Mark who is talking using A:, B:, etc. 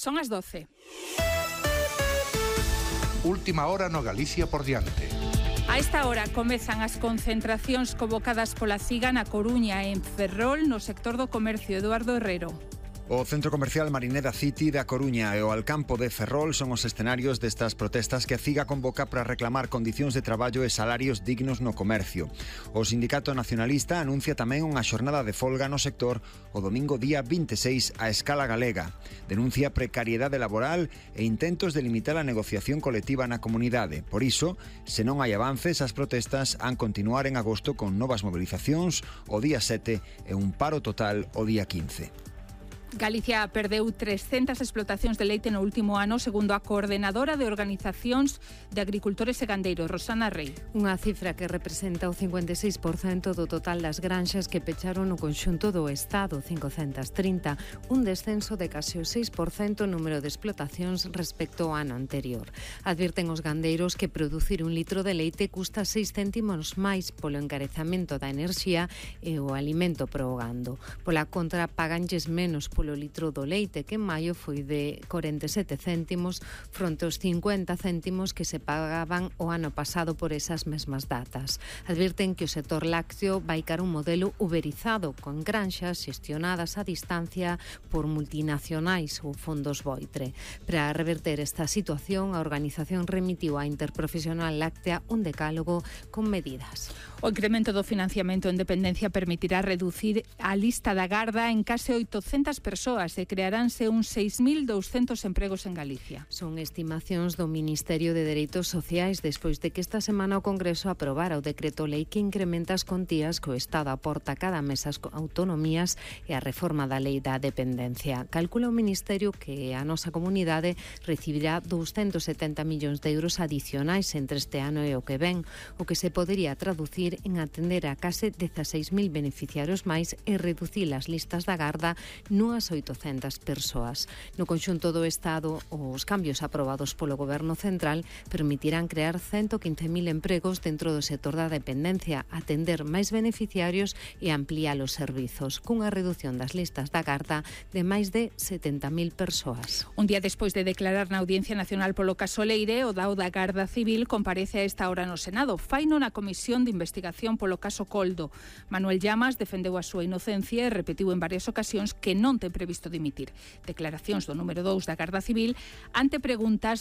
A: Son as 12.
B: Última hora no Galicia por diante.
A: A esta hora comezan as concentracións convocadas pola CIGA na Coruña e en Ferrol no sector do comercio. Eduardo Herrero.
C: O Centro Comercial Marineda City da Coruña e o Alcampo de Ferrol son os escenarios destas protestas que a CIGA convoca para reclamar condicións de traballo e salarios dignos no comercio. O Sindicato Nacionalista anuncia tamén unha xornada de folga no sector o domingo día 26 a escala galega. Denuncia precariedade laboral e intentos de limitar a negociación colectiva na comunidade. Por iso, se non hai avances, as protestas han continuar en agosto con novas mobilizacións o día 7 e un paro total o día 15.
A: Galicia perdeu 300 explotacións de leite no último ano, segundo a coordenadora de organizacións de agricultores e gandeiros, Rosana Rei.
D: Unha cifra que representa o 56% do total das granxas que pecharon no conxunto do Estado, 530, un descenso de case o 6% número de explotacións respecto ao ano anterior. Advirten os gandeiros que producir un litro de leite custa 6 céntimos máis polo encarezamento da enerxía e o alimento pro gando. Pola contra, paganlles menos polo litro do leite, que en maio foi de 47 céntimos fronte aos 50 céntimos que se pagaban o ano pasado por esas mesmas datas. Advirten que o sector lácteo vai cara un modelo uberizado, con granxas xestionadas a distancia por multinacionais ou fondos Boitre. Para reverter esta situación, a organización remitiu á Interprofesional Láctea un decálogo con medidas.
A: O incremento do financiamento en dependencia permitirá reducir a lista da garda en case 800 persoas e crearánse uns 6.200 empregos en Galicia.
D: Son estimacións do Ministerio de Dereitos Sociais despois de que esta semana o Congreso aprobara o decreto lei que incrementa as contías que o Estado aporta cada mes ás autonomías e a reforma da lei da dependencia. Calcula o Ministerio que a nosa comunidade recibirá 270 millóns de euros adicionais entre este ano e o que ven, o que se podería traducir en atender a case 16.000 beneficiarios máis e reducir as listas da garda nunhas 800 persoas. No conxunto do Estado, os cambios aprobados polo Goberno Central permitirán crear 115.000 empregos dentro do sector da dependencia, atender máis beneficiarios e ampliar os servizos, cunha reducción das listas da garda de máis de 70.000 persoas.
A: Un día despois de declarar na Audiencia Nacional polo caso Leire, o DAO da Garda Civil comparece a esta hora no Senado. Faino na Comisión de Investigación polo caso Coldo. Manuel Llamas defendeu a súa inocencia e repetiu en varias ocasións que non ten previsto dimitir. Declaracións do número 2 da Garda Civil ante preguntas